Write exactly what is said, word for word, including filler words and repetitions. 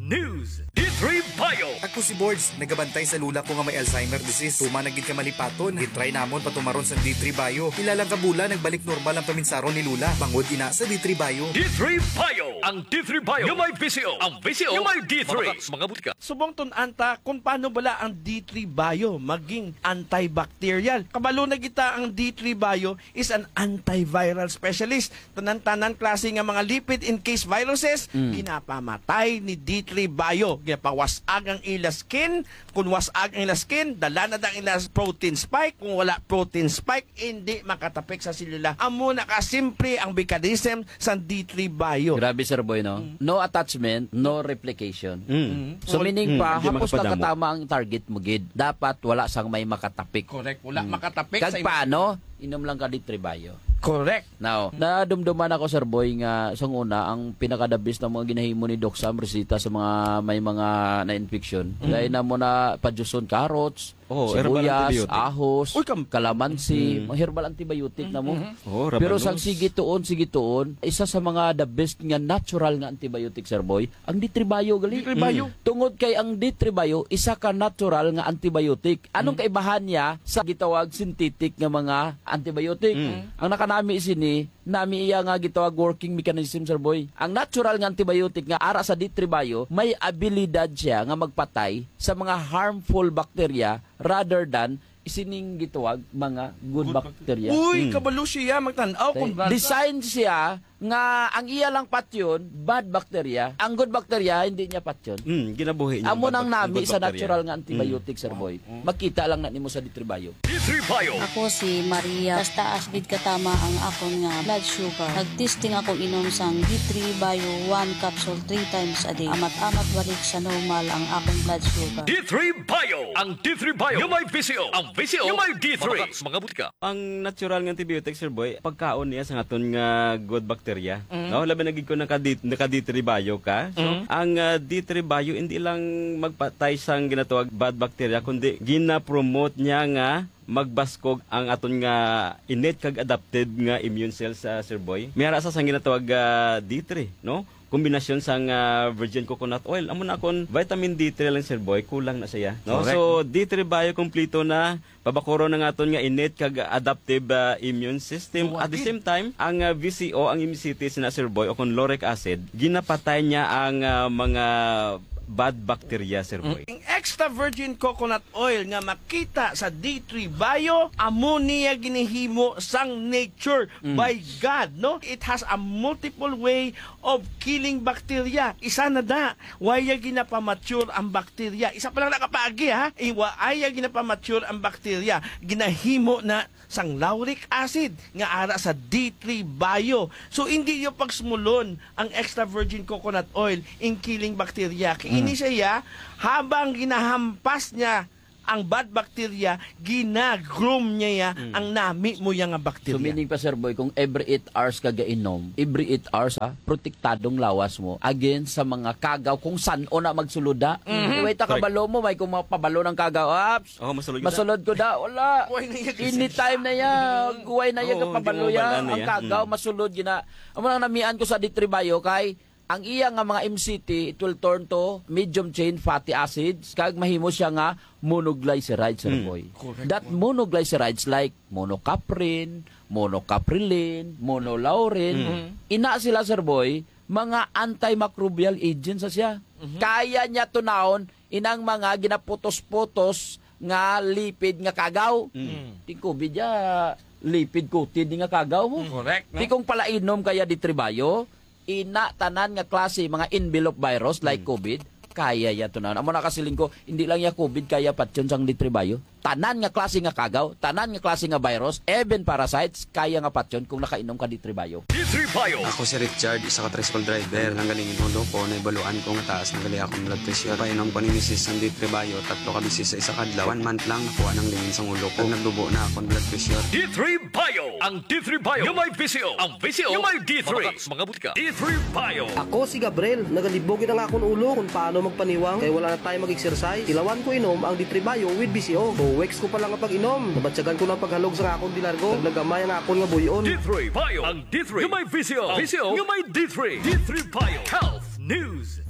News, D three Bio. Ako si Bords, nagabantay sa lula ko nga may Alzheimer disease. Tuman na gid ka malipaton. Gitry namon patumaron sang D three Bio. Pila lang ka bulan, nagbalik normal ang paminsaron ni Lula. Bangod ina sa D three Bio. D three Bio. Ang D three Bio nga may V C O. Ang V C O nga may D three. Mga, mga butika. Subong tun-an ta kung paano bala ang D three Bio maging antibacterial. Kabalo na kita, ang D three Bio is an antiviral specialist. Tanan-tanan klase nga mga lipid encased viruses, Mm. ginapamatay ni D three Bio. Ginapawas-ag ang ila skin. Kung was-ag ang ila skin, dala na ang ila protein spike. Kung wala protein spike, hindi makatapik sa selula. Amo na ka simple ang mechanism sang D three Bio. Grabe, Sir Boy, no? Mm. No attachment, no replication. Mm. Mm. So, Wal- meaning Mm. pa, Hindi hapos lang makapadamo. Katama ang target mo, gid. Dapat wala sang may makatapik. Correct. Wala Mm. makatapik Kag sa im- paano? Inom lang ka D three Bio. Correct. Now, Mm. nadumduman ako, Sir Boy, nga sang una, ang pinaka-the best na mga ginahimo ni Doc Sam, resita sa mga may mga na-infection. Mm. Dahil na mo na pajuson carrots, Oh, herbal sibuyas, antibiotic. Ahos, Uy, kam- kalamansi, Mm. mga herbal antibiotic na mo. Mm-hmm. Oh, Pero sang rabanos. Sige tuon, sige tuon, isa sa mga the best nga natural nga antibiotic, Sir Boy, ang D three Bio gali. D three Bio. Mm. Tungod kay ang D three Bio, isa ka natural nga antibiotic. Anong Mm. kaibahan niya sa gitawag synthetic nga mga antibiotic? Mm. Ang nakanami sini, nami iya nga gitawag working mechanism, Sir Boy. Ang natural nga antibiotic nga ara sa D three Bio, may abilidad siya nga magpatay sa mga harmful bacteria rather than sining gitawag mga good Good bacteria. Uy, Hmm. kabalo siya, magtan-aw kung Kay design siya nga ang iya lang patyon, bad bacteria. Ang good bacteria, hindi niya patyon. Hmm, ginabuhi niya Amo ang nang bad bac-, ang nami good sa bacteria. natural nga antibiotic, Hmm. Sir Boy. Hmm. Makita lang na nimo sa D three Bio. D three Bio. Ako si Maria. Taas-taas gid katama ang akon nga blood sugar. Nag-testing ako inom sang D three Bio one capsule three times a day. Amat-amat balik sa normal ang akon blood sugar. D three Bio. Ang D three Bio. Yung may V C O. Ang V C O. Yung may D three. Mga, mga butika. Ang natural nga antibiotic, Sir Boy, pagkaon niya sa aton nga good bacteria, Mm. no? Labi na gid kung naka D-, naka D three Bio ka. So, Mm. ang, ah, D three Bio hindi lang magpatay sang ginatawag bad bacteria, kundi gina-promote niya nga magbaskog ang aton nga innate kag adapted nga immune cells, ah, Sir Boy. May ara sa sang ginatawag, ah, D three, no? Kombinasyon sang, ah, virgin coconut oil. Amo na kon vitamin D three lang, Sir Boy, kulang na siya, no? Correct. So, D three Bio kompleto na, pabakuron ang aton nga innate kag adaptive, ah, immune system. Buwag At the gid. same time, ang, ah, V C O, ang M C T sina, Sir Boy, o kung lauric acid, ginapatay niya ang, ah, mga bad bacteria, Sir Boy. Ang extra virgin coconut oil nga makita sa D three Bio, amo niya ginahimo sang nature Mm. by God, no? It has a multiple way of killing bacteria. Isa na da, wa ya ginapamature ang bacteria. Isa pa lang nakapaagi, ha? Eh, wa ya ginapamature ang bacteria. Ginahimo na sang lauric acid nga ara sa D three Bio. So, hindi yung pagsumulon ang extra virgin coconut oil in killing bacteria. Kay Mm. ini siya, habang ginahampas niya ang bad bacteria, gina-groom niya ya Mm. ang nami mo ya nga So, bacteria. meaning pa, Sir Boy, kung every eight hours ka gainom, every eight hours, ha, protektadong lawas mo against sa mga kagaw kung san-o na magsulod, ha. Mhm. Way ta Correct. kabalo mo, may kung mapabalo ng kagaw, aps, Oh, masulod kita. masulod ko da, wala. Way na yan kasi. Anytime na ya, Mm. way na ya Oo, kapabalo hindi mo ya, wala na ang yan. kagaw, Mm. masulod gina. Amo nang namian ko sa D three Bio kay ang iya nga mga M C T, it will turn to medium chain fatty acids, kag mahimo siya nga monoglyceride, Sir Mm. Boy. Correct. That monoglycerides like monocaprin, monocaprilin, monolaurin, Mm. ina sila, Sir Boy, mga antimicrobial agents sa siya. Mhm. Kaya niya tunahon inang mga ginaputos-putos nga lipid nga kagaw. Mm. Ti COVID ya, lipid coated nga kagaw mo. Correct, no? Ti kung palainom kaya D three Bio, ina tanan nga klase mga envelope virus like Mm. COVID, kaya ya to na. Amo na kasiling ko, hindi lang ya COVID kaya patyon sang D three Bio. Tanan nga klase nga kagaw, tanan nga klase nga virus, even parasites, kaya nga patyon kung nakainom ka D three Bio. D three Bio. Ako si Richard, isa ka tricycle driver. Nanggaling in ulo ko, naibaluan ko nga taas na gali akong blood pressure. Painom ko ni misis sang D three Bio, tatlo ka bisis sa isa ka adlaw. One month lang, nakuha nang lingin sang ulo ko. Nagdubo na akong blood pressure. D three Bio. Ang D three Bio nga may V C O. Ang V C O nga may D three. Mga, mga butika. D three Bio. Ako si Gabriel. Nagalibog gid ang akon ulo kung paano magpaniwang kay wala na tayo mag-exercise. Ilawan ko inom ang D three Bio with V C O. Two weeks ko pa lang ang pag-inom. Nabatyagan ko na ang paghalog sa akon dilargo. Naglagamay ang akon nga buy-on. D three Bio. Ang D three nga may V C O. V C O nga may D three. D three Bio. Health News.